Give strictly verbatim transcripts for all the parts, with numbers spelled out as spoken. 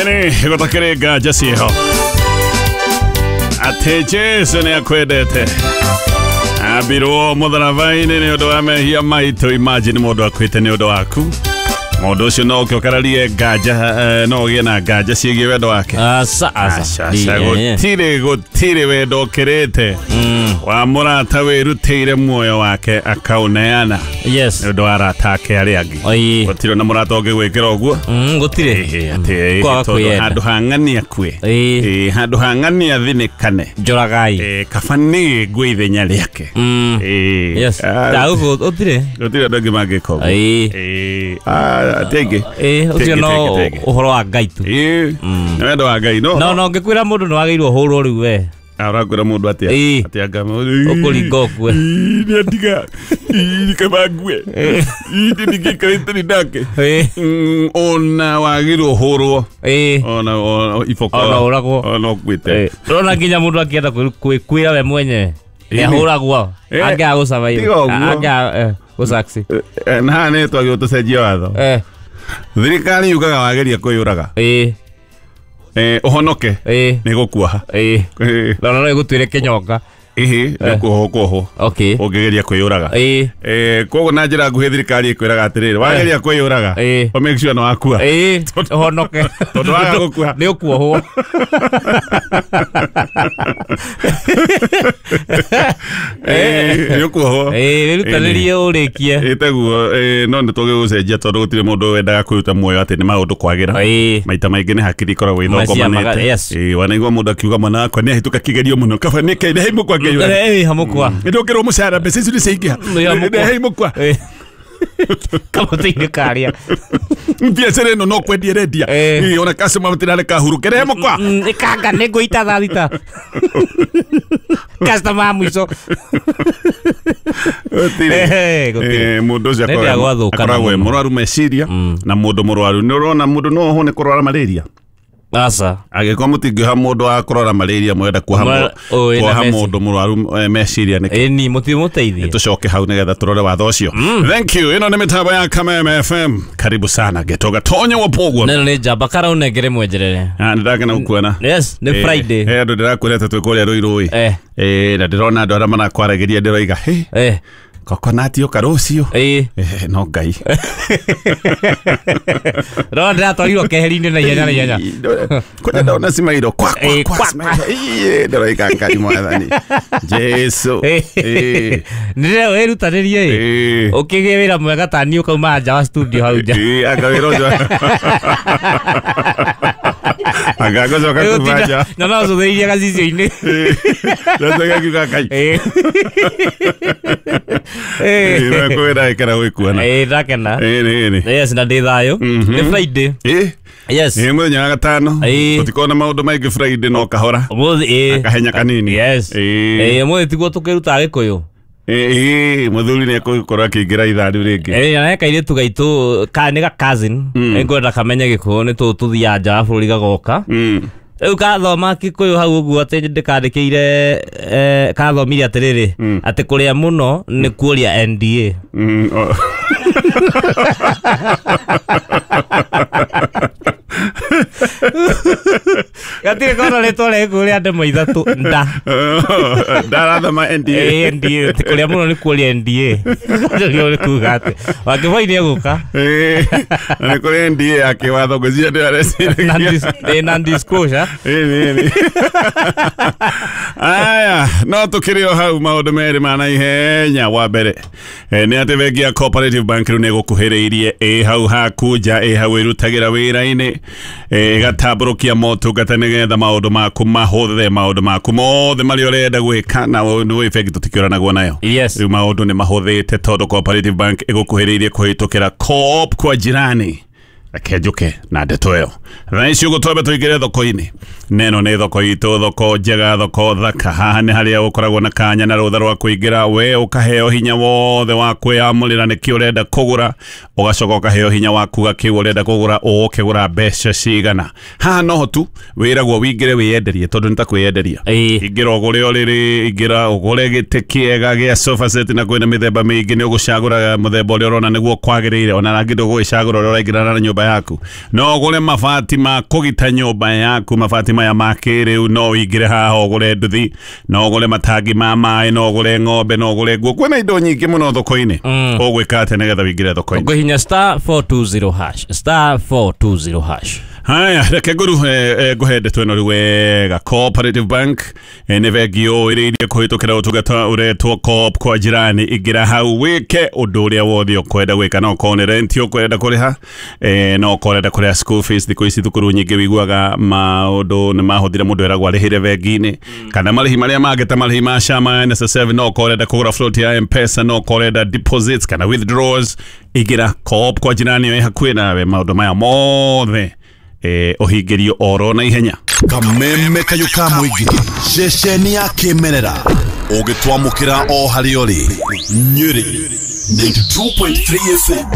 Ene gotakere nganja ciĩho atĩ Jesu nĩ akwendete ambirwo mũtharaba-inĩ nĩ ũndũ wa mehia maitũ. Imagine mũndũ akuĩte nĩ ũndũ waku, mũndũ ũcio no ũke ũkararie nganja, no ũgĩe na nganja ciĩgiĩ wendo wake. Aca aca, gũtirĩ gũtirĩ wendo ũkĩrĩte wa mũrata wĩrutĩire muoyo wake akaũneana yes nĩ ũndũ wa arata ake arĩa angĩ. Gũtirĩ ona mũrata ũngĩgwĩkĩra ũguo. Gũtirĩ atĩ tondũ handũ ha ng'ania akue, handũ ha ng'ania athinĩkane, njoragai kaba niĩ ngue ithenya rĩake. Yes, gũtirĩ gũtirĩ andũ angĩ mangĩka ũguo. Tenge ũcio no ũhoro wa Ngai tu. Nĩ wendo wa Ngai. No no ngĩkwĩra mũndũ nĩ wagĩrĩirwo hũrwo rĩu we ũrakwĩra mũndũ atĩa? Atĩ anga ũkũringa ũkue nĩ andiga kaba ngue ndingĩikarĩte nĩ nake. Ona wagĩrĩirwo hũrwo ona iboko ona ũragwo ona ũkuĩte. Ũrona nginya mũndũ akĩenda kwĩra we mwenye nĩ ahũragwo angĩaga gũsurvive, angĩaga gũsucceed. Na haha nĩ twagĩrĩirwo tũcenjie watho. Thirikari yugaga wageria kwĩyũraga ũhonoke nĩ gũkuoha. No no ĩgũtuĩre kĩnyonga. Ĩhĩ nĩ kuohwo kuohwo ũngĩgeria kwĩyũraga. Koguo na njĩra nguhĩ thirikari ĩkwĩraga atĩrĩrĩ, wageria kwĩyũraga ũ make sure nĩ wakua ũhonoke, tondũ waga gũkua nĩ ũkuohwo. Nĩ ũkuohwo. Wĩrutanĩrie ũrĩkie. Ĩtaguo no nĩ tũgĩgũcenjia tondũ gũtirĩ mũndũ wendaga kwĩruta muoyo atĩ nĩ maũndũ kwagĩra. Maita maingĩ nĩ hakiri ikoragwo ithũkũmanĩte. Wanaigua mũndũ akiuga mwana wakwa nĩ ahĩtũka kĩgerio mũno kaba nĩ kĩ nĩ mũkwa ngeyũra. Hamũkwa nĩ mũcara mbeca icio nĩ ciaingĩha nĩ mũkwa kamũtĩ-inĩ karĩa biacara ĩno no kwendia ĩrendia ona customer matirareka hurũke nĩ mũkwa ĩkanga nĩ ngũita thaa thita customer mũico. Mũndũ ũcio akoragwo e mũrwaru meciria na mũndũ mũrwaru nĩ ũrona mũndũ no ohwo nĩ kũrwara malaria. Aca angĩkorwo mũtingĩoha mũndũ wa kũrwara malaria mwenda kuoha mũndũ mũrwaru meciria nĩkĩ? Ĩni mũtimũteithie. Tũcoke hau nĩgetha tũrore watho ũcio. Thank you. Ĩno nĩ mĩtambo ya Kameme F M. Karibu sana Getoga Tonyo wa Pogwo. Neno nĩ njamba karaunengere mwenjerere. Nĩ ndakena gũkuona. Yes, nĩ Friday. He andũ ndĩrakwĩrete twĩ kũrĩa Rũirũ ĩ. Na ndĩrona andũ arĩa marakwaragĩria ndĩroiga hĩ kokonati ũka rũciũ. No Ngai no ndĩratwarirwo keheri-inĩ na ihenya na ihenya kwanja ndona cimairo kwa kwa kwa ndĩroiga Ngai mwathani Jesu nĩ wĩrutanĩrie ũkĩgĩe wĩra mwega ta niĩ ũkauma nja wa studio hau nja. Anga wĩra ũcio anga ngũcoka kuma nja na no ũcũthĩrĩrie gacicio-inĩ ndacoka ngiuga Ngai kwĩra ĩkera gwĩkuona. Ĩĩ ndakena. Yes, na ndĩ thayũ. Nĩ Friday. Yes. Nĩ mũthenya wa gatano. Tũtikoragwo na maũndũ maingĩ Friday no kahora. Ũmũthĩ kahenya kanini. Yes. Ĩĩ ũmũthĩ tiguo tũkĩrutaga Gĩkũyũ. Ĩĩ mũthuri nĩ ekũgĩkorwo akĩingĩra ithaa rĩu rĩngĩ. Ĩĩ na kairĩtu gaitũ ka nĩ ga cousin nĩngwenda kamenye Gĩkũyũ nĩ tũthiaga nja wa bũrũri gagoka. Rĩu kathoma Gĩkũyũ hau ũguo atĩ ndĩkandĩkĩire kathomire atĩrĩrĩ atĩ kũrĩa mũno nĩ kuoria N D A. Gatirĩ kona rĩtwa rĩa Gĩkũyũ rĩa ndemwa ithatũ nda. Ndarathoma N D A. N D A atĩ kũrĩa mũno nĩ kuoria N D A. Nĩguo nĩ kuga atĩ Wakĩboi nĩ egũka. Na nĩ kũrĩ N D A ya kĩwatho ngwĩciria nĩyo areciragia. Non-disclosure. Aya no tũkĩrĩ o hau maũndũ merĩ ma naihenya. Wa mbere nĩ atĩ bengi ya Cooperative Bank rĩu nĩ ĩgũkuhĩrĩirie ĩ hau haku nja ĩ hau ĩrutagĩra wĩra-inĩ ĩgatambũrũkia motungata nĩgetha maũndũ maku mahũthe maũndũ maku mothe marĩa ũrenda gwĩka na nĩ bengi tũtikĩũranagwo nayo. Rĩu maũndũ nĩ mahũthĩte tondũ Cooperative Bank ĩgũkuhĩrĩirie kũhĩtũkĩra Co-op kwa jirani. Reke njuke na ndeto ĩyo. Thaa ici ũguo twambe tũingĩre thoko-inĩ. Neno nĩ thoko itũ, thoko njega, thoko thaka. Haha nĩ harĩa ũkoragwo na kanya na rũtha rwa kũingĩra we ũkaheo hinya wothe wa kwĩyamũrĩra nĩkĩ ũrenda kũgũra, ũgacoka ũkaheo hinya wa kuga kĩu ũrenda kũgũra ũgũkĩgũra mbeca cigana. Haha noho tu wĩragwo wĩingĩre wĩyenderie tondũ nĩ ta kwĩyenderia. Ingĩra ũgũre ũrĩrĩ, ingĩra ũgũre gĩtĩ kĩega gĩa sofa set na kwĩna mĩthemba mĩingĩ nĩ ũgũcagũra mũthemba ũrĩa ũrona nĩguo kwagĩrĩire ona rangĩ ndũgũgĩcagũra ũrĩa ũraingĩrana na nyũmba nyũmba yaku, no ũgũre mabati ma kũgita nyũmba yaku, mabati maya ma kĩrĩu, no ũingĩre haha ũgũre nduthi, no ũgũre matangi ma maĩ, no ũgũre ng'ombe, no ũgũre nguo. Kwĩna indo nyingĩ mũno thoko-inĩ. Ũgwĩka atĩa nĩgetha ũingĩre thoko-inĩ? Ũkũhihinya star four two zero hash, star four two zero hash. Haya, reke ngũru eh, ngũhe ndeto ĩno rĩu wega. Cooperative Bank eh, nĩ bengi ũĩrĩirie kũhĩtũkĩra ũtungata ũretwo Co-op kwa jirani. Ingĩra hau wĩke ũndũ ũrĩa wothe ũkwenda gwĩka, no ũkorwo nĩ rent ũkwenda kũrĩha, eh, no ũkorwo ũrenda kũrĩha school fees. Thikũ ici thukuru nyingĩ wiguaga maũndũ nĩ mahũthire mũndũ eragwo arĩhĩre bengi-inĩ, kana marĩhi marĩa mangĩ ta marĩhi ma SHA, ma N S S F, no ũkorwo ũrenda kũgũra float ya M-Pesa, no ũkorwo ũrenda deposits kana withdrawals. Ingĩra Co-op kwa jirani ĩ hakuhĩ nawe, maũndũ maya mothe eh, ũhingĩrio oro na ihenya. Kameme kayũ ka mũingĩ, ceceni ya kĩmerera, ũgĩtwamũkĩra o harĩa ũrĩ. Nyĩrĩ ninety-two point three F M.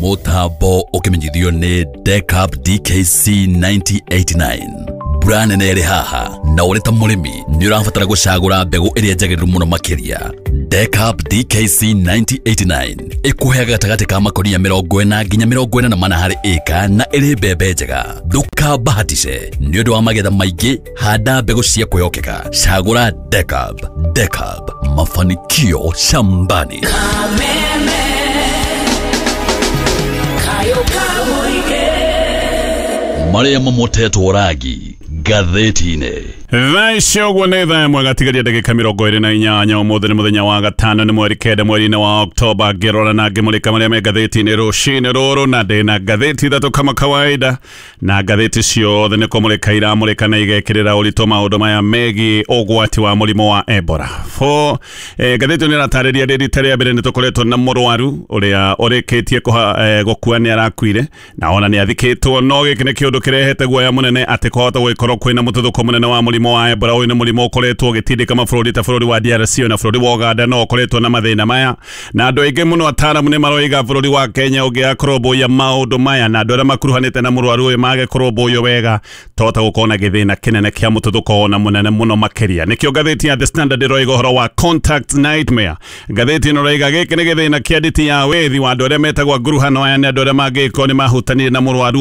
Mũtambo ũkĩmenyithio nĩ Decap D K C ninety eighty-nine. Mbura nene ĩrĩ haha, na ũrĩ ta mũrĩmi nĩ ũrabatara gũcagũra mbegũ ĩrĩa njagĩrĩru mũno makĩria. Decap D K C ninety eighty-nine ĩkũheaga gatagatĩ ka makonia mĩrongo ĩna nginya mĩrongo ĩna na mana harĩ ĩka, na ĩrĩ mbembe njega. Ndũkabahatishe nĩ ũndũ wa magetha maingĩ, handa mbegũ cia kwĩhokeka. Cagũra Decap. Decap, mafanikio shambani. Marĩa mamotetwo rangi ngathĩti-inĩ. Thaa icio ũguo nĩ thaa ĩmwe gatigaria ndagĩka mĩrongo ĩrĩ na inyanya. Ũmũthĩ nĩ mũthenya wa gatano, nĩ mweri kenda mweri-inĩ wa Oktoba. Ngĩrora na ngĩmũrĩka marĩa me ngathĩti-inĩ rũcinĩ rũrũ, na ndĩna ngathĩti ithatũ kama kawaida, na ngathĩti ciothe nĩ kũmũrĩka iramũrĩka na igekĩrĩra ũritũ maũndũ maya megiĩ ũgwati wa mũrimũ wa Ebola. Fo eh, ngathĩti ĩno ĩratarĩria rĩ rita rĩa mbere nĩ tũkoretwo na mũrwaru ũrĩa ũrĩkĩtie kũha, eh, gũkua, nĩ arakuire na ona nĩ athikĩtwo, no gĩkĩ nĩ kĩũndũ kĩrehete guoya mũnene atĩ kwahota gũgĩkorwo kwĩna mũtuthũko mũnene wa mũrimũ wa Ebola. Ũyũ nĩ mũrimũ ũkoretwo ũgĩtindĩka mabũrũri ta bũrũri wa D R C na bũrũri wa Uganda, no ũkoretwo na mathĩna maya, na andũ aingĩ mũno ataaramu nĩ maroiga bũrũri wa Kenya ũngĩakũrũmbũiya maũndũ maya na andũ arĩa makuruhanĩte na mũrwaru ũyũ mage kũrũmbũiyo wega, tohota gũkorwo na gĩthĩna kĩnene kĩa mũtuthũko ona mũnene mũno makĩria. Nĩkĩo ngathĩti ya The Standard ĩroiga ũhoro wa contact nightmare. Ngathĩti ĩno ĩroiga gĩkĩ nĩ gĩthĩna kĩa nditi ya wĩthi wa andũ arĩa metagwo nguruhano aya, nĩ andũ arĩa mangĩkorwo nĩ mahutanire na mũrwaru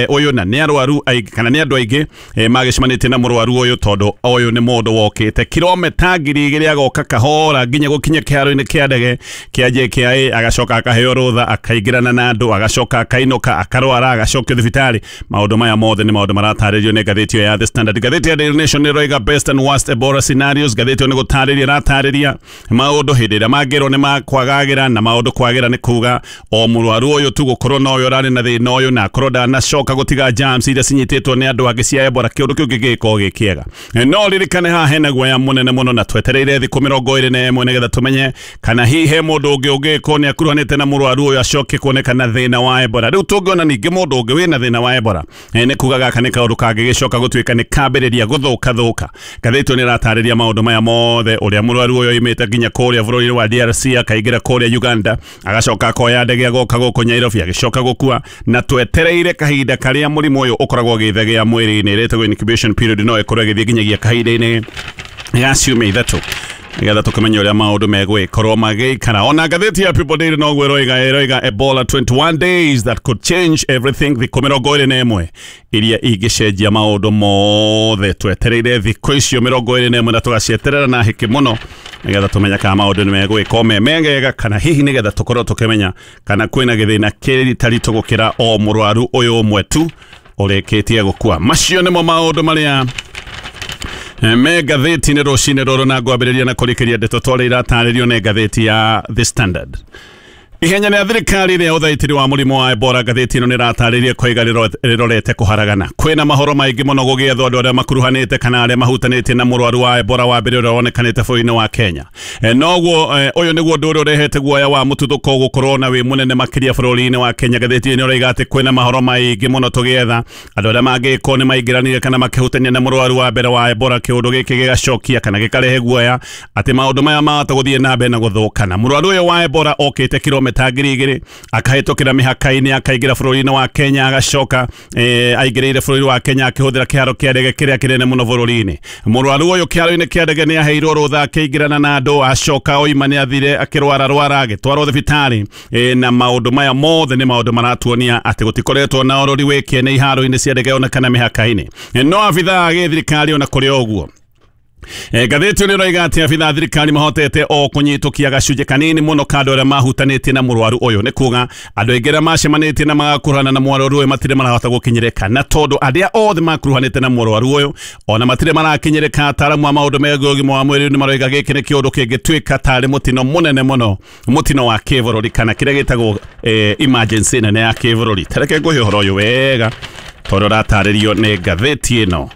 ũyũ, na nĩ arwaru aingĩ kana nĩ andũ aingĩ magĩcemanĩtie na mũrwaru ũyũ, tondũ ũyũ nĩ mũndũ wokĩte kilomita ngiri igĩrĩ agoka kahora nginya gũkinya kĩharo-inĩ kĩa ndege kĩa J K I A, agacoka akaheo rũtha, akaingĩrana na andũ, agacoka akainũka, akarwara, agacokio thibitarĩ. Maũndũ maya mothe nĩ maũndũ maratarĩrio nĩ ngathĩti ĩyo ya The Standard. Ngathĩti ya Daily Nation ĩroiga best and worst Ebola scenarios. Ngathĩti ĩyo nĩ gũtarĩria ĩratarĩria maũndũ hĩndĩ ĩrĩa mangĩrwo nĩ makwagagĩra, na maũndũ kwagĩra nĩ kuga o mũrwaru ũyũ tu gũkorwo nowe ũrarĩ na thĩna ũyũ na akorwo ndanacoka gũtiga germs iria cinyitĩtwo nĩ andũ angĩ cia Ebola, kĩũndũ kĩu kĩngĩgĩkorwo gĩ kĩega. No ririkane haha hena guoya mũnene mũno, na twetereire thikũ mĩrongo ĩrĩ na ĩmwe nĩgetha tũmenye kana hihi he mũndũ ũngĩ ũngĩkorwo nĩ akuruhanĩte na mũrwaru ũyũ acoke kuonekana thĩna wa Ebola. Rĩu tũngĩona ningĩ mũndũ ũngĩ wĩna thĩna wa Ebola, nĩ kuga gaka nĩ kaũndũ kangĩgĩcoka gũtuĩka nĩ kambĩrĩria gũthũka thũka. Ngathĩti ĩyo nĩ ĩratarĩria maũndũ maya mothe, ũrĩa mũrwaru ũyũ oimĩte nginya kũrĩa bũrũri-inĩ wa D R C akaingĩra kũrĩa Uganda, agacoka akoya ndege agoka gũkũ Nairobi, agĩcoka gũkua, na twetereire kahinda karĩa mũrimũ ũyũ ũkoragwo ũgĩthegea mwĩrĩ-inĩ, ĩretagwo incubation period, no ĩkorwo ĩgĩthiĩ nginyagia kahinda-inĩ ga ciumia ithatũ nĩgetha tũkĩmenye ũrĩa maũndũ megwĩkorwo magĩikara. Ona ngathĩti ya People Daily noguo ĩroiga, ĩroiga Ebola twenty-one days that could change everything, thikũ mĩrongo ĩrĩ na ĩmwe iria ingĩcenjia maũndũ mothe. Twetereire thikũ icio mĩrongo ĩrĩ na ĩmwe na tũgacieterera na hĩkĩ mũno nĩgetha tũmenye kana maũndũ nĩ megwĩkwo me mega, kana hihi nĩgetha tũkorwo tũkĩmenya kana kwĩna gĩthĩna kĩritaritũ gũkĩra o mũrwaru ũyũ ũmwe tu ũrĩkĩtie gũkua. Macio nĩmo maũndũ marĩa me ngathĩti-inĩ rũcinĩ rũrũ, na ngwambĩrĩria na kũrĩkĩria ndeto twarĩa iratarĩrio nĩ ngathĩti ya The Standard. Ihenya rĩa thirikari rĩa ũthaitĩri wa mũrimũ wa Ebola, ngathĩti ĩno nĩ ĩratarĩria koiga rĩrorete kũharagana. Kwĩna mahoro maingĩ mũno gũgĩethwo andũ arĩa makuruhanĩte kana arĩa mahutanĩtie na mũrwaru wa Ebola wa mbere ũrĩa wonekanĩte bũrũri-inĩ wa Kenya. E, noguo ũyũ nĩguo ũndũ ũrĩa ũrehete guoya wa mũtuthũko gũkorwo na wĩ mũnene makĩria bũrũri-inĩ wa Kenya. Ngathĩti ĩno ĩroiga atĩ kwĩna mahoro maingĩ mũno tũgĩetha andũ arĩa mangĩkorwo nĩ maingĩranire kana makĩhutania na mũrwaru wa mbere wa Ebola, kĩũndũ gĩkĩ gĩgacokia kana gĩkarehe guoya atĩ maũndũ maya mahota gũthiĩ na mbere na gũthũkana. Mũrwaru ũyũ wa Ebola okĩte kilomita kilomita ngiri igĩrĩ akahĩtũkĩra mĩhaka-inĩ akaingĩra bũrũri-inĩ wa Kenya agacoka eh, aingĩrĩire bũrũri wa Kenya akĩhũthĩra kĩharo kĩa ndege kĩrĩa kĩnene mũno bũrũri-inĩ. Mũrwaru ũyũ kĩharo-inĩ kĩa ndege nĩ aheirwo rũtha akĩingĩrana na andũ acoka oima nĩ athire akĩrwara rwara agĩtwarwo thibitarĩ eh, na maũndũ maya mothe nĩ maũndũ maratuonia atĩ gũtikoretwo na ũrori wĩkĩene iharo-inĩ cia ndege ona kana mĩhaka-inĩ. No abithaa a gĩthirikari ona kũrĩ o ũguo E, ngathĩti nĩ ĩroiga atĩ abithaa a thirikari mahotete o kũnyitũkia gacunjĩ kanini mũno ka andũ arĩa mahutanĩtie na mũrwaru ũyũ. Nĩ kuga andũ aingĩ arĩa macemanĩtie na magakuruhana na mũrwaru ũyũ matirĩ marahota gũkinyĩrĩka, na tondũ arĩa othe makuruhanĩte na mũrwaru ũyũ ona matirĩ marakinyĩrĩka, ataaramu a maũndũ megiĩ ũgima wa mwĩrĩ nĩ maroiga gĩkĩ nĩ kĩũndũ kĩngĩtuĩka tarĩ mũtino mũnene mũno, mũtino wa kĩbũrũri kana kĩrĩa gĩtagwo eh, emergency nene ya kĩbũrũri. Tareke ngũhe ũhoro ũyũ wega tondũ ũratarĩrio nĩ ngathĩti ĩno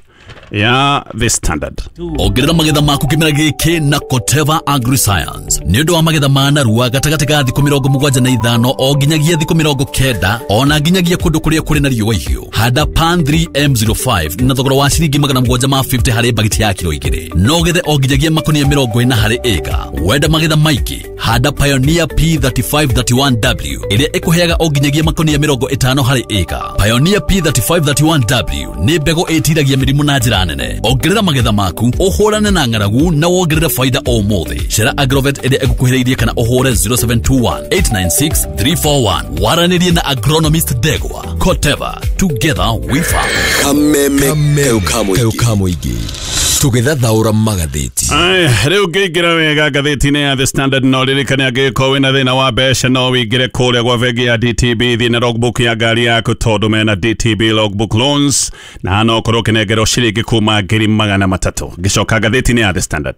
ya The Standard. Ongerera magetha maku kĩmera gĩkĩ na Koteva AgriScience nĩ ũndũ wa magetha ma narua gatagatĩ ga thikũ mĩrongo mũgwanja na ithano o nginyagia thikũ mĩrongo kenda ona nginyagia kũndũ kũrĩa kũrĩ na riũa ihiũ. Handa Pan three M zero five na thogora wa ciringi magana mũgwanja ma fifty harĩ bagiti ya kiro igĩrĩ no gethe o nginyagia makonia mĩrongo ĩna harĩ ĩka. Wenda magetha maingĩ, handa Pioneer P thirty five thirty one W ĩrĩa ĩkũheaga o nginyagia makonia mĩrongo ĩtano harĩ ĩka. Pioneer P thirty five thirty one W nĩ mbegũ ĩtiragia mĩrimũ na njĩra nene. Ongerera magetha maku, ũhũrane na ng'aragu na wongerere faida o mũthĩ. Cera Agrovet ĩrĩa ĩgũkuhĩrĩirie kana ũhũre zero seven two one, eight nine six, three four one. Waranĩrie na agronomist Ndegwa. Koteva, together we farm. Kameme kayo kamũingĩ tũgĩthathaũra magathĩti. Aya, rĩu ngĩingĩra wega ngathĩti-inĩ ya The Standard no ririkane angĩkorwo wĩna thĩna wa mbeca no wĩingĩre kũrĩa gwa bengi ya D T B thiĩ na logbook ya ngari yaku tondũ mena D T B logbook loans na no ũkorwo ũkĩnengerwo ciringi kuma ngiri magana matatũ. Ngĩcoka ngathĩti-inĩ ya The Standard,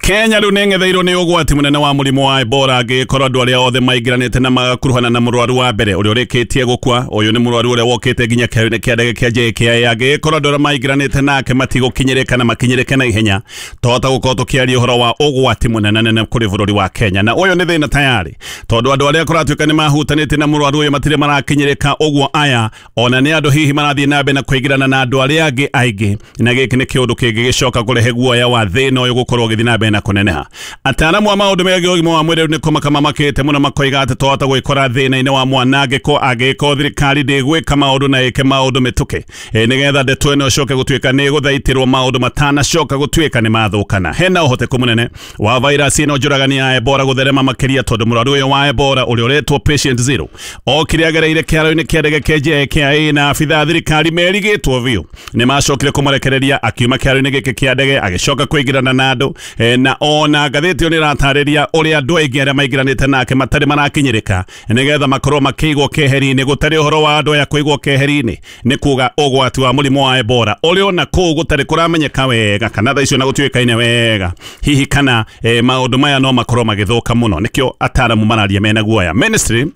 Kenya rĩu nĩ ĩng'etheirwo nĩ ũgwati mũnene wa mũrimũ wa Ebola angĩkorwo andũ arĩa othe maingĩranĩte na magakuruhana na mũrwaru wa mbere ũrĩa ũrĩkĩtie gũkua. Ũyũ nĩ mũrwaru ũrĩa wokĩte nginya kĩharo-inĩ kĩa ndege kĩa J K I A. Angĩkorwo andũ arĩa maingĩranĩte nake matigũkinyĩrĩka na makinyĩrĩke na ihenya, twahota gũkorwo tũkĩaria ũhoro wa ũgwati mũnene nene kũrĩ bũrũri wa Kenya. Na ũyũ nĩ thĩna tayari tondũ andũ arĩa kũratuĩka nĩ mahutanĩtie na mũrwaru ũyũ matirĩ marakinyĩrĩka, ũguo aya ona nĩ andũ hihi marathiĩ na mbere na kũingĩrana na andũ arĩa angĩ aingĩ, na gĩkĩ nĩ kĩũndũ kĩngĩgĩcoka kũrehe guoya wa thĩna ũyũ gũkorwo ũgĩthiĩ na mbere na kũneneha. Ataaramu a maũndũ megiĩ ũgima wa mwĩrĩ nĩ kũmaka mamakĩte mũno makoiga atĩ twahota gwĩkora thĩna-inĩ wa mwanangĩko angĩkorwo thirikari ndĩgwĩka maũndũ na ĩke maũndũ mĩtũkĩ e, nĩgetha ndeto ĩno ĩcoke gũtuĩka nĩ ĩgũthaitĩrwo maũndũ matanacoka gũtuĩka nĩ mathũkana. Hena ũhoteku mũnene wa virus ĩno njũragani ya Ebola gũtherema makĩria tondũ mũrwaru ũyũ wa Ebola ũrĩa ũretwo patient zero okire agereire kĩharo-inĩ kĩa ndege kĩa J K I A na abithaa a thirikari merigĩtwo biũ nĩ macokire kũmũrekereria akiuma kĩharo-inĩ gĩkĩ kĩa ndege agĩcoka kũingĩrana na andũ e, na ona ngathĩti ĩyo nĩ ĩratarĩria ũrĩa andũ aingĩ arĩa maingĩranĩte nake matarĩ marakinyĩrĩka nĩgetha makorwo makĩigwo keheri-inĩ. Gũtarĩ ũhoro wa andũ aya kũigwo keheri-inĩ nĩ kuga ũgwati wa mũrimũ wa Ebola ũrĩa ona kũu gũtarĩ kũramenyeka wega kana thaa icio na gũtuĩkaine wega hihi kana e, maũndũ maya no makorwo magĩthũka mũno. Nĩkĩo ataaramu mararia mena guoya. Ministry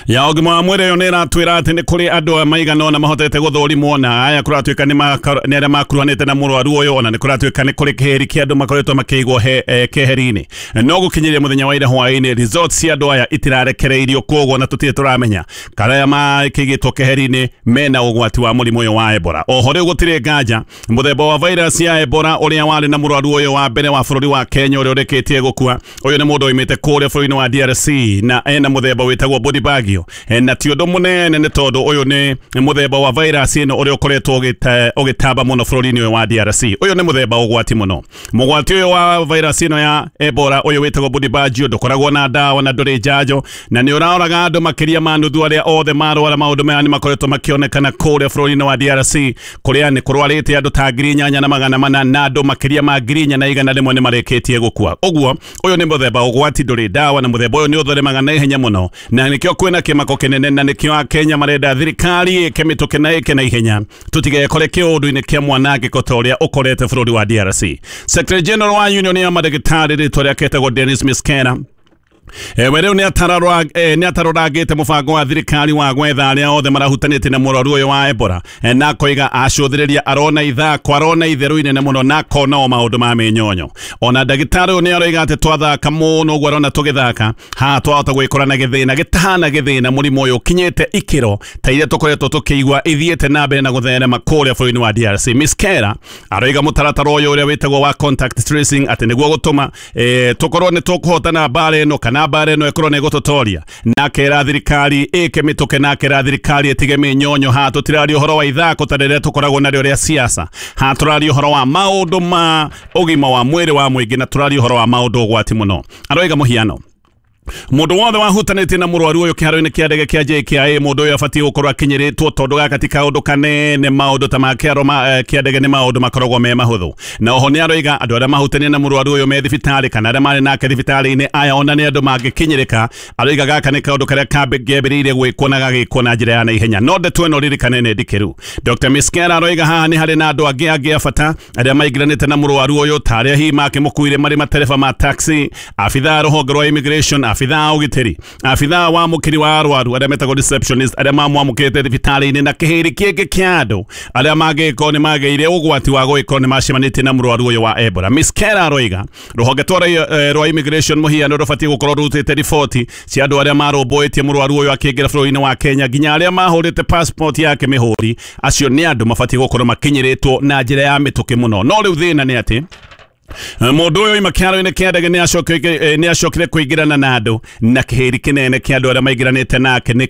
ya ũgima wa mwĩrĩ ĩyo nĩ ĩratwĩra atĩ nĩ kũrĩ andũ maigana ũna mahotete gũthũrimwo na aya kũratuĩka nĩ arĩa makuruhanĩte na mũrwaru ũyũ, ona nĩ kũratuĩka nĩ kũrĩ kĩheri kĩa andũ makoretwo makĩigwo eh, keheri-inĩ. No gũkinyĩria mũthenya wa ira hwaĩ-inĩ results cia andũ aya itirarekereirio, koguo na tũtirĩ tũramenya kana aya makĩigĩtwo keheri-inĩ mena ũgwati wa mũrimũ ũyũ wa Ebola. Oho rĩu gũtirĩ nganja mũthemba wa virus ya Ebola ũrĩa warĩ na mũrwaru ũyũ wa mbere wa bũrũri wa Kenya ũrĩa ũrĩkĩtie gũkua, ũyũ nĩ mũndũ oimĩte kũrĩa bũrũri-inĩ wa D R C na ena mũthemba wĩtagwo Bundibugyo, na ti ũndũ mũnene nĩ tondũ ũyũ nĩ mũthemba wa virus ĩno ũrĩa ũkoretwo ũgĩtamba mũno bũrũri-inĩ ũyũ wa D R C. Ũyũ nĩ mũthemba ũgwati mũno. Mũgwati ũyũ wa virus ĩno ya Ebola ũyũ wĩtagwo Bundibugyo ndũkoragwo na ndawa na ndũrĩ njanjo na nĩ ũraoraga andũ makĩria ma nuthu arĩa othe marwara. Maũndũ maya nĩ makoretwo makĩonekana kũrĩa bũrũri-inĩ wa D R C kũrĩa nĩ kũrwarĩte andũ ta ngiri inyanya na magana mana na andũ makĩria ma ngiri inya na igana rĩmwe nĩ marĩkĩtie gũkua. Ũguo ũyũ nĩ mũthemba ũgwati ndũrĩ ndawa na mũthemba ũyũ nĩ ũtheremaga na ihenya mũno na nĩkĩo kwĩna kĩmako kĩnene na nĩkĩo Akenya marenda thirikari ĩke mĩtũkĩ na ĩke na ihenya tũtigekore kĩũndũ-inĩ kĩa mwanangĩko ta ũrĩa ũkorete bũrũri wa D R C. Secretary General wa Union ya madagĩtarĩ rĩtwa rĩake etagwo Dennis Miskena ewe rĩu nĩ atarorangĩte mũbango wa thirikari wa gwetha arĩa othe marahutanĩtie na mũrwaru ũyũ wa Ebola na akoiga acũthĩrĩria arona ithako arona itherũ inene mũno na akona o maũndũ ma mĩnyonyo. Ona ndagĩtarĩ ũyũ nĩ aroiga atĩ twathaka mũno ũguo arona tũgĩthaka haha twahota gwĩkora na gĩthĩna gĩtahana gĩthĩna mũrimũ ũyũ ũkinyĩte ikĩro ta iria tũkoretwo tũkĩigua ithiĩte na mbere na gũtherema kũrĩa bũrũri-inĩ wa D R C. Miskera aroiga mũtaratara ũyũ ũrĩa wĩtagwo wa contact tracing atĩ nĩguo gũtũma tũkorwo nĩ tũkũhotana mbara ĩno kana kana mbara ĩno ĩkorwo nĩ ĩgũtũtoria. Na akera thirikari ĩke mĩtũke, na akera thirikari ĩtige mĩnyonyo. Haha tũtiraria ũhoro wa ithako ta rĩrĩa tũkoragwo narĩo rĩa siasa, haha tũraria ũhoro wa maũndũ ma ũgima wa mwĩrĩ wa mũingĩ, na tũraria ũhoro wa maũndũ ũgwati mũno. Aroiga mũhiano, mundu wothe wahutanĩtie na mũrwaru ũyũ kĩharo-inĩ kĩa ndege kĩa J K I A, mũndũ ũyũ abatiĩ gũkorwo akinyĩrĩtwo tondũ gaka ti kaũndũ kanene. Maũndũ ta ma kĩharo kĩa ndege nĩ maũndũ makoragwo me mahũthũ. Na oho nĩ aroiga andũ arĩa mahutania na mũrwaru ũyũ me thibitarĩ kana arĩa marĩ nake thibitarĩ-inĩ aya ona nĩ andũ mangĩkinyĩrĩka. Aroiga gaka nĩ kaũndũ karĩa kambĩrĩirie gwĩkwo na gagĩkwo na njĩra ya naihenya. No ndeto ĩno ririkane nĩ ndikĩru. Dr Miskera aroiga haha nĩ harĩ na andũ angĩ angĩ a bata arĩa maingĩranĩte na mũrwaru ũyũ ta arĩa hihi makĩmũkuire marĩ matereba ma taxi, abithaa rũhonge rwa immigration, abithaa ũgitĩri, abithaa wa mũkiri wa arwaru arĩa metagwo receptionist arĩa mamwamũkĩrĩte thibitarĩ-inĩ, na kĩhĩrĩ kĩngĩ kĩa andũ arĩa mangĩkorwo nĩ magĩire ũgwati wa gũgĩkorwo nĩ macemanĩtie na mũrwaru ũyũ wa Ebola. Miskera aroiga rũhonge rwa immigration mũhiano rũbatiĩ gũkorwo rũrutĩte riboti cia andũ arĩa marũmbũĩtie mũrwaru ũyũ akĩingĩra bũrũri-inĩ wa Kenya, nginya arĩa mahũrĩte passport yake mĩhũri. Acio nĩ andũ mabatiĩ gũkorwo makinyĩrĩtwo na njĩra ya mĩtũkĩ mũno. No rĩu thĩna nĩ atĩ mundu uyu ima kĩharo-inĩ kĩa ndege nĩ acokire kũingĩrana na andũ na kĩhĩri kĩnene kĩa andũ arĩa maingĩranĩte nake nĩ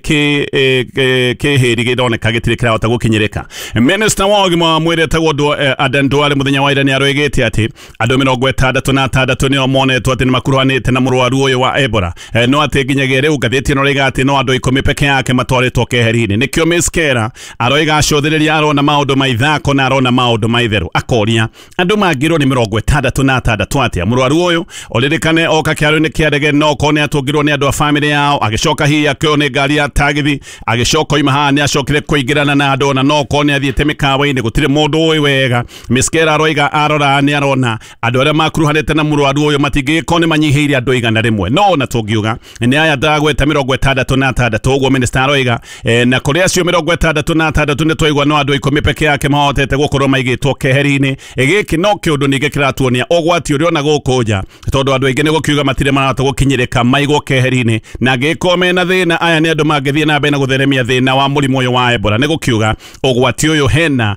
kĩhĩri gĩroneka gĩtirĩ kĩrahota gũkinyĩrĩka. Minister wa ũgima wa mwĩrĩ etagwo Aden Duale mũthenya wa ira nĩ aroigĩte atĩ andũ mĩrongo ĩtandatũ na atandatũ nĩo monetwo atĩ nĩ makuruhanĩte na mũrwaru ũyũ wa Ebola, no atĩ nginyagia rĩu ngathĩti ĩno ĩroiga atĩ no andũ ikũmi peke yake matwarĩtwo keheri-inĩ. Nĩkĩo Miskera aroiga acũthĩrĩria arona maũndũ ma ithako na arona maũndũ ma itherũ, akoria andũ mangĩrwo nĩ mĩrongo ĩtandatũ na atandatũ atĩa mũrwaru ũyũ ũririkane oka kĩharo-inĩ kĩa ndege no korwo nĩ atũngirwo nĩ andũ a famĩlĩ yao, agĩcoka hihi akĩoywo nĩ ngari ya tagithi, agĩcoka oima haha nĩ acokire kũingĩrana na andũ ona no korwo nĩ athiĩte mĩkawa-inĩ, gũtirĩ mũndũ ũĩ wega. Miskera aroiga arora nĩ arona andũ arĩa makuruhanĩte na mũrwaru ũyũ matingĩgĩkorwo nĩ manyihĩire andũ igana rĩmwe, no ona tũngiuga nĩ aya ndagweta mĩrongo ĩtandatũ na atandatũ ũguo minister aroiga, na kũrĩ acio mĩrongo ĩtandatũ na atandatũ nĩ twaigua no andũ ikũmi peke yake mahotete gũkorwo maigĩtwo keheri-inĩ. Gĩkĩ no kĩũndũ ningĩ kĩratuonia ũgwati ũrĩa ona gũkũ nja, tondũ andũ aingĩ nĩ gũkiuga matirĩ marahota gũkinyĩrĩka maigwo keheri-inĩ, na angĩkorwo mena thĩna aya nĩ andũ mangĩthiĩ na mbere na gũtheremia thĩna wa mũrimũ ũyũ wa Ebola. Nĩ gũkiuga ũgwati ũyũ hena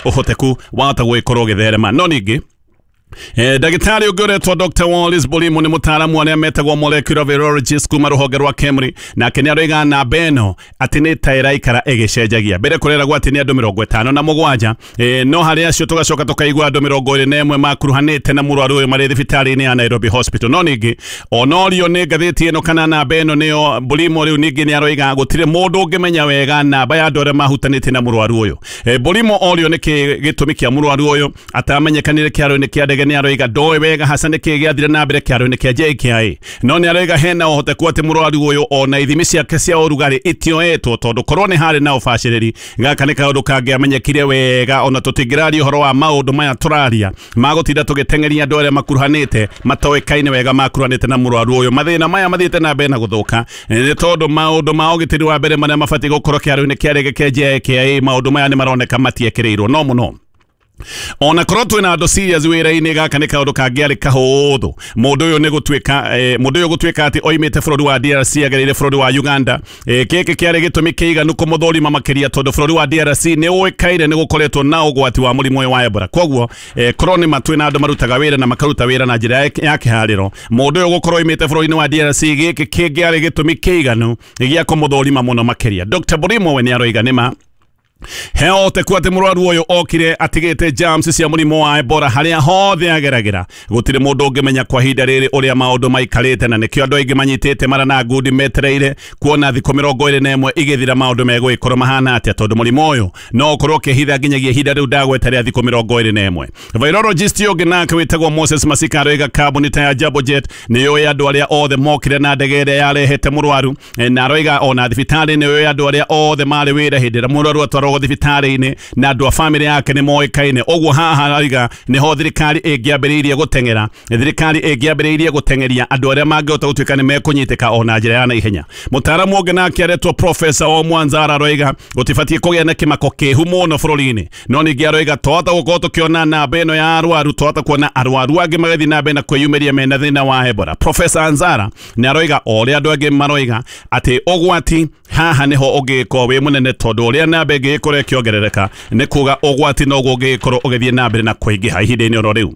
ũhoteku wahota gũgĩkorwo ũgĩtherema. No ningĩ ndagĩtarĩ ũngĩ ũretwo Dr Wallace Bulimo nĩ mũtaaramu arĩa metagwo molecular virologist kuma rũhonge rwa KEMRI, nake nĩ aroiga namba ĩno atĩ nĩ ta ĩraikara ĩgĩcenjagia. Mbere kũreragwo atĩ nĩ andũ mĩrongo ĩtano na mũgwanja, no harĩ acio tũgacoka tũkaigua andũ mĩrongo ĩrĩ na ĩmwe makuruhanĩte na mũrwaru ũyũ marĩ thibitarĩ-inĩ ya Nairobi Hospital. No ningĩ onorio nĩ ngathĩti ĩno kana namba ĩno nĩyo Bulimo rĩu ningĩ nĩ aroiga gũtirĩ mũndũ ũngĩmenya wega namba ya andũ arĩa mahutanĩtie na mũrwaru ũyũ. Bulimo orio nĩkĩ gĩtũmi kĩa mũrwaru ũyũ atamenyekanire kĩharo-inĩ kĩa ndege, nĩ aroiga ndoĩ wega hasa nĩkĩ gĩathire na mbere kĩharo-inĩ kĩa J K I A, no nĩ aroiga hena ũhoteku atĩ mũrwaru ũyũ ona ithimi ciake cia ũrugarĩ itioetwo, tondũ korwo nĩ harĩ na ũbacĩrĩri gaka nĩ kaũndũ kangĩamenyekire wega. Ona tũtingĩraria ũhoro wa maũndũ maya tũraria magũtinda tũgĩteng'eria andũ arĩa makuruhanĩte matoĩkaine wega makuruhanĩte na mũrwaru ũyũ. Mathĩna maya mathiĩte na mbere na gũthũka nĩ tondũ maũndũ ma ũgitĩri wa mbere marĩa mabatiĩ gũkorwo kĩharo-inĩ kĩa ndege kĩa J K I A maũndũ maya nĩ maroneka matiekĩrĩirwo no mũno. Ona korwo twĩna andũ serious wĩra-inĩ gaka nĩ kaũndũ kangĩarĩ kahũthũ. Mũndũ ũyũ nĩ gũtuĩka mũndũ ũyũ gũtuĩka atĩ oimĩte bũrũri wa D R C agereire bũrũri wa Uganda, gĩkĩ kĩarĩ gĩtũmi kĩiganu kũmũthũrima makĩria tondũ bũrũri wa D R C nĩ ũĩkaine nĩ gũkoretwo na ũgwati wa mũrimũ ũyũ wa Ebola. Koguo korwo nĩ ma twĩna andũ marutaga wĩra na makaruta wĩra na njĩra ya kĩharĩro, mũndũ ũyũ gũkorwo oimĩte bũrũri-inĩ wa D R C gĩkĩ kĩngĩarĩ gĩtũmi kĩiganu gĩa kũmũthũrima mũno makĩria. Dr Bulimo we nĩ aroiga nĩ ma he ũhoteku atĩ mũrwaru ũyũ okire atigĩte germs cia mũrimũ wa Ebola harĩa hothe ageragĩra. Gũtirĩ mũndũ ũngĩmenya kwa ihinda rĩrĩ ũrĩa maũndũ maikarĩte, na nĩkĩo andũ aingĩ manyitĩte mara na ngundi metereire kuona thikũ mĩrongo ĩrĩ na ĩmwe igĩthira maũndũ megũgĩkorwo mahana atĩa, tondũ mũrimũ ũyũ no ũkorwo ũkĩhitha nginyagia ihinda rĩu ndagweta rĩa thikũ mĩrongo ĩrĩ na ĩmwe. Virologist ũngĩ nake wĩtagwo Moses Masika aroiga kambuni ta ya Jambo Jet nĩ yũĩ andũ arĩa othe mokire na ndege ĩrĩa yarehete mũrwaru, na aroiga ona thibitarĩ nĩ yũĩ andũ arĩa othe marĩ wĩra hĩndĩ ĩrĩa mũrwaru atwaragwo thibitarĩ-inĩ na andũ a famĩlĩ yake nĩ moĩkaine. Ũguo haha arauga nĩho thirikari ĩngĩambĩrĩirie gũteng'era, thirikari ĩngĩambĩrĩirie gũteng'eria andũ arĩa mangĩhota gũtuĩka nĩ mekũnyitĩka ona njĩra ya naihenya. Mũtaaramu ũngĩ nake aretwo Professor o Mwanzara aroiga gũtibatiĩ kũgĩa na kĩmako kĩhu mũno bũrũri-inĩ, no ningĩ aroiga twahota gũkorwo tũkĩona namba ĩno ya arwaru, twahota kuona arwaru angĩ magĩthiĩ na mbere na kwĩyumĩria mena thĩna wa Ebola. Professor Anzara nĩ aroiga o ũrĩa andũ angĩ maroiga atĩ ũgwati haha nĩho ũngĩkorwo wĩ mũnene, tondũ ũrĩa namba ĩngĩgĩkorwo ĩkĩongerereka nĩ kuga ũgwati noguo ũngĩgĩkorwo ũgĩthiĩ na mbere na kũingĩha ihinda-inĩ oro rĩu.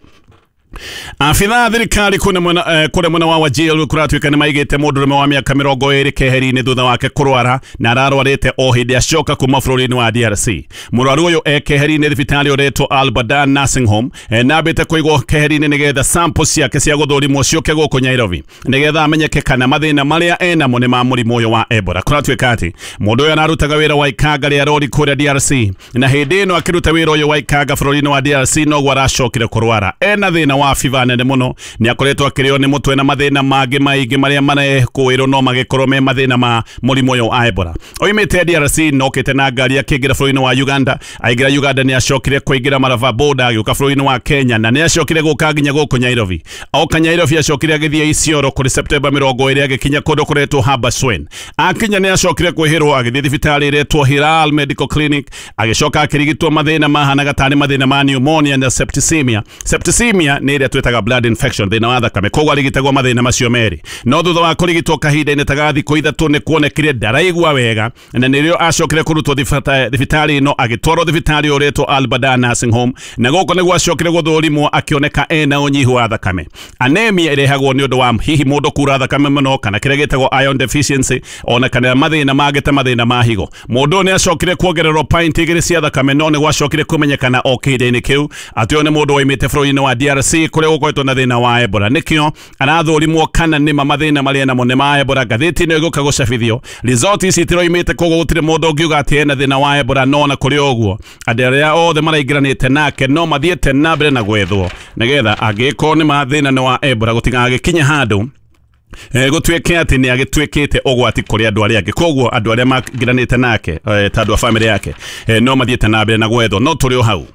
Afitha thirikari kune mwena eh, kure mwena wa Wajir kuratuika ni maigite mundurume wa miaka mirongo iri keheri-ini thutha wake kurwara na ararwarite o hindi acoka kuma bũrũri-inĩ wa D R C. Mũrwaru ũyũ e keheri-inĩ thibitarĩ ũretwo Al Badan Nursing Home eh, na ambĩte kũigwo keheri-inĩ nĩgetha sample ciake cia gũthũrimwo ciũke gũkũ Nairobi nĩgetha amenyeke kana mathĩna marĩa enamo nĩ ma mũrimũ ũyũ wa Ebola. Kũratuĩka atĩ mũndũ ũyũ ararutaga wĩra wa ikanga rĩa rori kũrĩa D R C na hĩndĩ ĩno akĩruta wĩra ũyũ wa ikanga bũrũri-inĩ wa D R C noguo aracokire kũrwara. Ena thĩna wa fiva nene muno ni akoretwo akĩrĩo nĩ mũtwe na mathĩna mangĩ maingĩ marĩa marekũĩrwo no magĩkorwo me mathĩna ma mũrimũ ũyũ wa Ebola. Oimĩte D R C nokĩte na ngari akĩingĩra bũrũri-inĩ wa Uganda. Aingĩra Uganda nĩ acokire kũingĩra Malava border agĩũka bũrũri-inĩ wa Kenya na nĩ acokire gũka nginya gũkũ Nairobi. Oka Nairobi acokire agĩthiĩ Isiolo kũrĩ September mĩrongo ĩrĩ agĩkinya kũndũ kũretwo Habaswein. Akinya nĩ acokire kwĩhĩrwo agĩthiĩ thibitarĩ ĩretwo Hilal Medical Clinic agĩcoka akĩrigitwo mathĩna mahanaga tarĩ mathĩna ma pneumonia na septicemia. Septicemia nĩ ĩrĩa twĩtaga blood infection thĩna wa thakame koguo arigitagwo mathĩna macio merĩ. No thutha wa kũrigitwo kahinda-inĩ ta ga thikũ ithatũ nĩ kuonekire ndaraigua wega na nĩrĩo acokire kũrutwo thibitarĩ ĩno agĩtwarwo thibitarĩ ũretwo Al Badan Nursing Home na gũkũ nĩguo acokire gũthũrimwo akĩoneka ena ũnyihu wa thakame. Anemia ĩrehagwo nĩ ũndũ wa hihi mũndũ kura thakame mũno kana kĩrĩa gĩtagwo iron deficiency ona kana mathĩna mangĩ ta mathĩna ma higo. Mũndũ nĩ acokire kuongererwo pint igĩrĩ cia thakame no nĩ gwacokire kũmenyekana o kĩhinda-inĩ kĩu atĩ ũyũ nĩ mũndũ waimĩte bũrũri-inĩ wa D R C kũrĩa gũkoretwo na thĩna wa Ebola. Nĩkĩo arathũrimwo kana nĩma mathĩna marĩa namo nĩ ma Ebola. Ngathĩti ĩno ĩgũka gũcabithio result ici itiroimĩte koguo gũtirĩ mũndũ ũngiuga atĩ ena thĩna wa Ebola no na kũrĩ ũguo andũ arĩa othe maraingĩranĩte nake no mathiĩte na mbere na gwethwo nĩgetha angĩkorwo nĩ mathĩna nĩ wa Ebola gũtigagĩkinye handũ gũtuĩke atĩ nĩ agĩtuĩkĩte ũgwati kũrĩ andũ arĩa angĩ. Koguo andũ arĩa mangĩranĩte nake ta andũ a famĩlĩ yake no mathiĩte na mbere na gwethwo. No tũrĩ o hau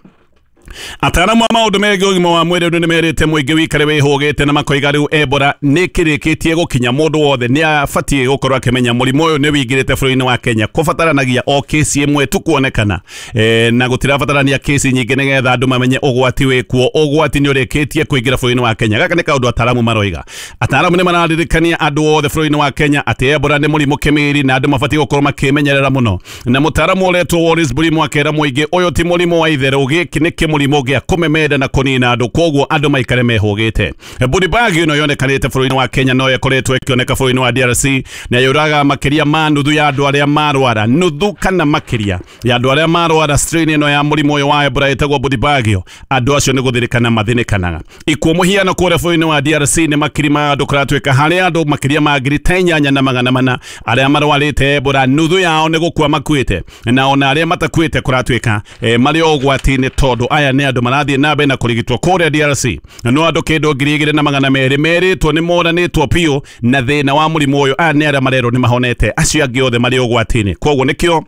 Ataaramu a maũndũ megiĩ ũgima wa mwĩrĩ nĩ merĩte mũingĩ wĩikare wĩhũgĩte na makoiga rĩu Ebola nĩ kĩrĩkĩtie gũkinya mũndũ wothe nĩ abatiĩ gũkorwo akĩmenya mũrimũ ũyũ nĩ wĩingĩrĩte bũrũri-inĩ wa Kenya. Kũbataranagia o kesi ĩmwe tu kuonekana e, na gũtirabatarania kesi nyingĩ nĩgetha andũ mamenye ũgwati wĩkuo. Ũgwati nĩ ũrĩkĩtie kũingĩra bũrũri-inĩ wa Kenya. Gaka nĩ kaũndũ ataaramu maroiga. Ataaramu nĩ mararirikania andũ othe bũrũri-inĩ wa Kenya atĩ Ebola nĩ mũrimũ kĩmĩri na andũ mabatiĩ gũkorwo makĩmenyerera mũno. Na mũtaaramu ũretwo Wallace Bulimo akera mũingĩ ũyũ ti mũrimũ wa itherũ, gĩkĩ nĩ kĩmũrimũ gĩa kũmemenda na kũnina andũ, koguo andũ maikare mehũgĩte. Budibag ĩno yonekanĩte bũrũri-inĩ wa Kenya no ĩkoretwo ĩkĩoneka bũrũri-inĩ wa D R C na yũraga makĩria ma nuthu ya andũ arĩa marwara, nuthu kana makĩria ya andũ arĩa marwara strain ĩno ya mũrimũ ũyũ wa Ebola ĩtagwo Budibag. Andũ acio nĩ gũthirĩkana mathĩnĩkanaga. Ikuũ mũhiano kũrĩa bũrũri-inĩ wa D R C nĩ makiri ma andũ kũratuĩka harĩ andũ makĩria ma ngiri ta inyanya na magana mana arĩa marwarĩte Ebola, nuthu yao nĩ gũkua makuĩte na ona arĩa matakuĩte kũratuĩka e, marĩ o ũgwati-inĩ tondũ aya nĩ andũ marathiĩ na mbere na kũrigitwo kũrĩa D R C. No andũ kĩndũ ngiri igĩrĩ na magana merĩ merĩtwo nĩ moranĩtwo biũ na thĩna wa mũrimũ ũyũ. Aya nĩ arĩa marerwo nĩ mahonete, acio angĩ othe marĩ ũgwati-inĩ. Koguo nĩkĩo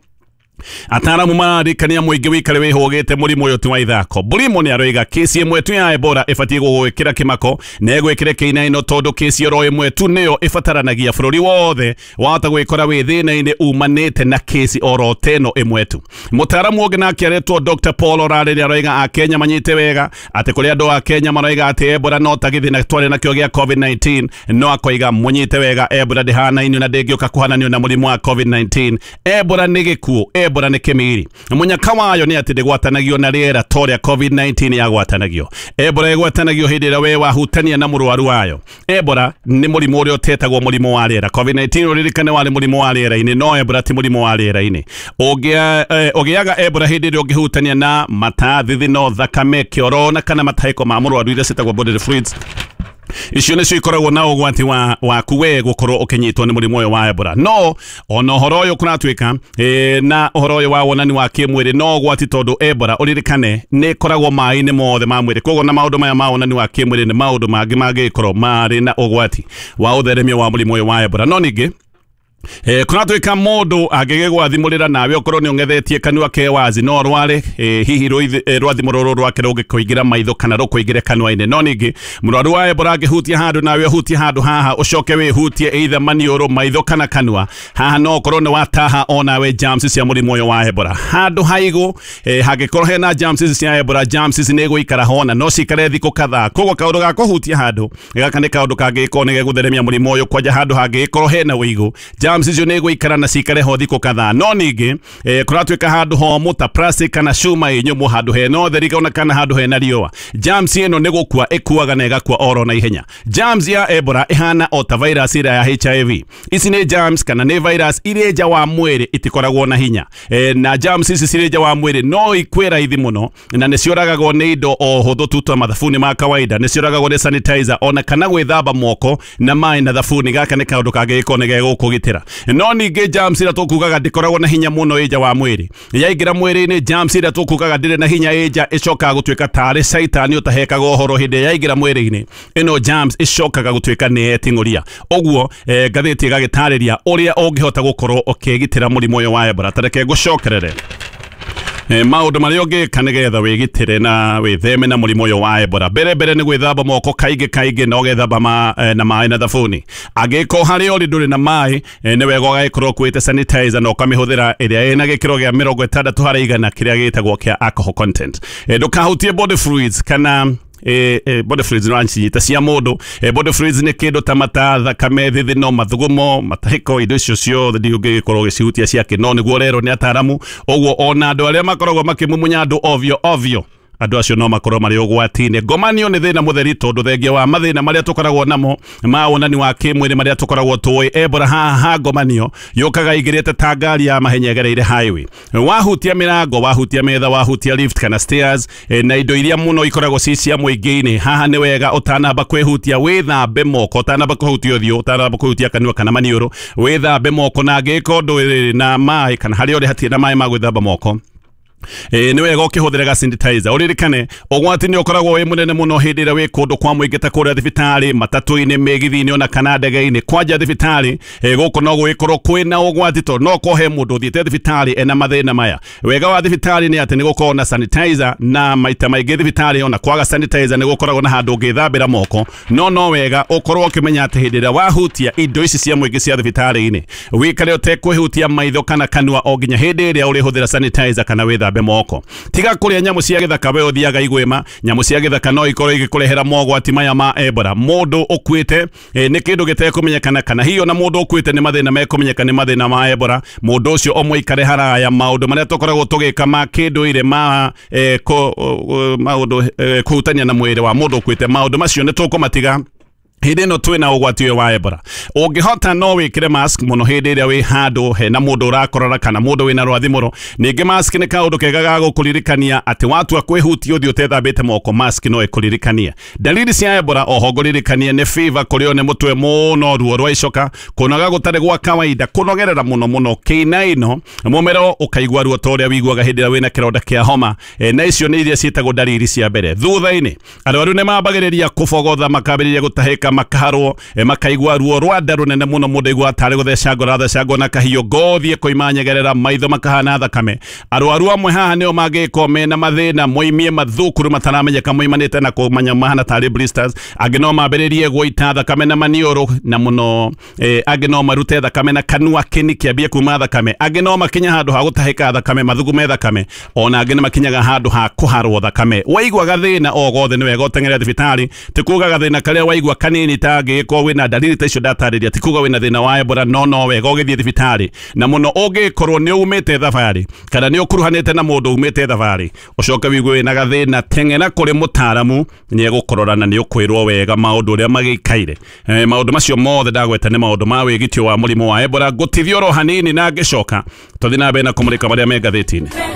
ataaramu mararikania mũingĩ wĩikare wĩhũgĩte mũrimũ ũyũ ti wa ithako. Bulimo nĩ aroiga kesi ĩmwe tu ya Ebola ĩbatiĩ gũgwĩkĩra kĩmako na ĩgwĩkĩre kĩinaino tondũ kesi oro ĩmwe tu nĩyo ĩbataranagia bũrũri wothe wahota gwĩkora wĩ thĩna-inĩ umanĩte na kesi oro teno ĩmwe tu. Mũtaaramu ũngĩ nake aretwo Doctor Paul Orare nĩ aroiga Akenya manyite wega atĩ kũrĩ andũ a Kenya maroiga atĩ Ebola no ta gĩthĩna twarĩ nakĩo gĩa COVID nineteen, no akoiga mũnyite wega Ebola ndĩhanainio na ndĩngĩũka kũhananio na mũrimũ wa COVID nineteen. Ebola nĩ gĩkuũ, Ebola nĩ kĩmiri. Mũnyaka wayo nĩ atĩ ndĩgwatanagio na rĩera ta ũrĩa COVID nineteen yagwatanagio. Ebola ĩgwatanagio hĩndĩ ĩrĩa we wahutania na mũrwaru wayo. Ebola nĩ mũrimũ ũrĩa ũtetagwo mũrimũ wa rĩera. COVID nineteen ũririkane warĩ mũrimũ wa rĩera-inĩ, no Ebola ti mũrimũ wa rĩera-inĩ. Ũgĩaga Ebola hĩndĩ ĩrĩa ũngĩhutania na mata, thithino, thakame, kĩoro na kana matahĩko ma mũrwaru iria ciĩtagwo bodily fluids. Icio nĩcio ikoragwo na ũgwati wa waku we gũkorwo ũkĩnyitwo nĩ mũrimũ ũyũ wa Ebola. No ona ũhoro ũyũ kũratuĩka e, na ũhoro ũyũ wa wonani wa kĩmwĩrĩ no ũgwati tondũ Ebola ũririkane nĩ ĩkoragwo maĩ-inĩ mothe ma mwĩrĩ. Koguo na maũndũ maya ma wonani wa kĩmwĩrĩ nĩ maũndũ mangĩ mangĩkorwo marĩ na ũgwati wa ũtheremia wa mũrimũ ũyũ wa Ebola. No ningĩ Eh, kũratuĩka mũndũ angĩgĩgwathimũrĩra nawe ũkorwo nĩ ũng'ethetie kanua ke wazi no rware eh, hihi rwathimũ rũrũ rwake rũngĩkũingĩra maitho kana rũkũingĩre kanua-inĩ. No ningĩ mũrwaru wa Ebola angĩhutia handũ nawe ũhutie handũ haha ũcoke wĩhutie either maniũrũ, maitho kana kanua haha, no ũkorwo nĩ wataha onawe germs cia mũrimũ ũyũ wa Ebola. Handũ haigũ eh, hangĩkorwo hena germs cia Ebola, germs ici nĩ igũikara hona no cikare thikũ kadhaa. Koguo kaũndũ ga kũhutia handũ gaka nĩ kaũndũ kangĩgĩkorwo nĩ gegũtheremia mũrimũ ũyũ kwanja handũ hangĩgĩkorwo hena ũigũ Germs icio nĩ igũikara na cikare ho thikũ kadhaa. No ningĩ eh, kũratuĩka handũ homũ ta plastic kana cuma ĩ nyũmũ, handũ hena ũtheri ona kana handũ hena riũa, germs ĩno nĩ gũkua ĩkuaga na ĩgakua oro na ihenya. Germs ya Ebola ĩhana o ta virus ĩrĩa ya H I V. Ici nĩ germs kana nĩ virus irĩ nja wa mwĩrĩ itikoragwo na hinya. E, na germs ici cirĩ nja wa mwĩrĩ no ikue raithi mũno na nĩ ciũragagwo nĩ indo o hũthũ tu ta mathabuni ma kawaida, nĩ ciũragagwo nĩ sanitizer ona kana gwĩthamba moko na maĩ na thabuni. Gaka nĩ kaũndũ kangĩgĩkorwo nĩ gegũkũgitĩra. No ningĩ germs ĩrĩa tũkugaga ndĩkoragwo na hinya mũno ĩ nja wa mwĩrĩ, yaingĩra mwĩrĩ-inĩ germs ĩrĩa tũkugaga ndĩrĩ na hinya ĩ nja ĩcokaga gũtuĩka tarĩ caitani ũtahekaga ũhoro hĩndĩ yaingĩra mwĩrĩ-inĩ. Ĩno germs ĩcokaga gũtuĩka nĩ yeting'ũria. Ũguo eh, ngathĩti ĩgagĩtarĩria ũrĩa ũngĩhota gũkorwo ũkĩgitĩra mũrimũ ũyũ wa Ebola. Ta reke ngũcokerere e, maũndũ marĩa ũngĩka nĩgetha wĩgitĩre na wĩtheme na mũrimũ ũyũ wa Ebola. Mbere mbere nĩ gwĩthamba moko kaingĩ kaingĩ na ũgethamba ma, e, na maĩ na thabuni. Angĩkorwo harĩa ũrĩ ndũrĩ na maĩ, e, nĩ wega ũgagĩkorwo ũkuĩte sanitizer na ũkamĩhũthĩra ĩrĩa ĩna gĩkĩro gĩa mĩrongo ĩtandatũ harĩ igana kĩrĩa gĩtagwo kĩa alcohol content. E, ndũkahutie body fluids kana e, e, body fluids no anchinyita cia mũndũ. E, body fluids nĩ kĩndũ ta mata, thakame, thithino, mathugumo, matahĩko, indo icio ciothe ndingĩgĩkorwo ũgĩcihutia ciake, no nĩguo rero nĩ ataramu. Ũguo ona andũ arĩa makoragwo makĩmumunya andũ ovyo ovyo, andũ acio no makorwo marĩ ũgwati-inĩ. Ngomanio nĩ thĩna mũtheri tondũ thengia wa mathĩna marĩa tũkoragwo namo ma wonani wa kĩmwĩrĩ marĩa tũkoragwo tũĩ, Ebola haha ngomanio yũkaga igĩrĩte ta ngari ya mahenya ĩgereire highway. Wahutia mĩrango, wahutia metha, wahutia lift kana stairs, e, na indo iria mũno ikoragwo ci cia mũingĩ-inĩ, haha nĩ wega ũtanamba kwĩhutia wĩthambe moko, ũtanamba kũhutia ũthiũ, ũtanamba kũhutia kanua kana maniũrũ, wĩthambe moko, na angĩkorwo ndũrĩ na maĩ kana harĩa ũrĩ hatirĩ na maĩ ma gwĩthamba moko, e, nĩ wega ũkĩhũthĩra ga sanitizer. Ũririkane ũgwati nĩ ũkoragwo wĩ mũnene mũno hĩndĩ ĩrĩa wĩ kũndũ kwa mũingĩ ta kũrĩa thibitarĩ, matatũ-inĩ, mĩgithi-inĩ ona kana ndege-inĩ. Kwanja thibitarĩ e, gũkũ no gũgĩkorwo kwĩna ũgwati tondũ no korwo he mũndũ ũthiĩte thibitarĩ ena mathĩna maya. Wega wa thibitarĩ nĩ atĩ nĩ gũkoragwo na sanitizer, na maita maingĩ thibitarĩ ona kwaga sanitizer nĩ gũkoragwo na handũ ũngĩthambĩra moko, no no wega ũkorwo ũkĩmenya atĩ hĩndĩ ĩrĩa wahutia indo ici cia mũingĩ cia thibitarĩ-inĩ wĩkare ũtekwĩhutia maitho kana kanua o nginya hĩndĩ ĩrĩa ũrĩhũthĩra sanitizer kana wĩthambe moko. Tiga kũrĩa nyamũ cia gĩthaka we ũthiaga igwĩma. Nyamũ cia gĩthaka no ikorwo igĩkũrehera mogwati maya ma Ebola. Mũndũ ũkuĩte e, nĩ kĩndũ gĩtekũmenyekana kana hiyo na mũndũ ũkuĩte nĩ mathĩna mekũmenyeka nĩ mathĩna ma Ebola. Mũndũ ũcio ũmũikare haraya. Maũndũ marĩa tũkoragwo tũgĩka ma kĩndũire ma e, kũ, maũndũ e, kũhutania na mwĩrĩ wa mũndũ ũkuĩte, maũndũ macio nĩ tũkũmatiga hĩndĩ ĩno twĩna ũgwati ũyũ wa Ebola. Ũngĩhota no wĩkĩre mask mũno hĩndĩ ĩrĩa wĩ handũ hena mũndũ ũrakorora kana mũndũ wĩna rwathimũro. Ningĩ mask nĩ kaũndũ kega ga gũkũririkania atĩ watua kwĩhutia ũthiũ ũtethambĩte moko, mask no ĩkũririkanie. Dalili cia Ebola oho ngũririkanie nĩ fever, kũrĩo nĩ mũtwe mũno, ruo rwa icoka, kũnoga gũtarĩ gwa kawaida, kũnogerera mũno mũno, kĩinaino, mũmero ũkaigua ruo ta ũrĩa wĩiguaga hĩndĩ ĩrĩa wĩna kĩronda kĩa homa. E, na icio nĩ iria ciĩtagwo dalili cia mbere. Thutha-inĩ arwaru nĩ mambagĩrĩria kũbogotha, makambĩrĩria gũtahĩka, makaharwo, e, makaigua ruo rwa nda rũnene mũno, mũndũ aigua tarĩ gũthecangwo arathecangwo na kahiũ, ngothi ĩkoima nyegerera, maitho makahana thakame. Arwaru amwe haha nĩo mangĩkorwo mena mathĩna moimie mathukuru mataramenyeka moimanĩte na kũmanya mahana tarĩ blisters. Angĩ no mambĩrĩrie gũita thakame na maniũrũ na mũno, e, angĩ no marute thakame na kanua kĩni kĩambie kuma thakame, angĩ no makinya handũ ha gũtahĩka thakame, mathugume thakame, ona angĩ nĩ makinyaga handũ ha kũharwo thakame. Waigua gathĩna o gothe nĩ wega ũteng'ere thibitarĩ. Ti kuga gathĩna karĩa waigua kanini ta angĩkorwo wĩna dalili ta icio ndatarĩria, ti kuga wĩna thĩna wa Ebola, no no wega ũgĩthiĩ thibitarĩ. Na mũno ũngĩkorwo nĩ umĩte thabarĩ kana nĩ ũkuruhanĩte na mũndũ umĩte thabarĩ ũcoke wigue wĩna gathĩna, teng'era kũrĩ mũtaaramu, nĩ egũkũrora na nĩ ũkwĩrwo wega maũndũ ũrĩa magĩikaire. E, maũndũ macio mothe ndagweta nĩ maũndũ ma wĩgitio wa mũrimũ wa Ebola. Ngũtithia oro hanini na ngĩcoka tũthiĩ na mbere na kũmũrĩka marĩa me ngathĩti-inĩ.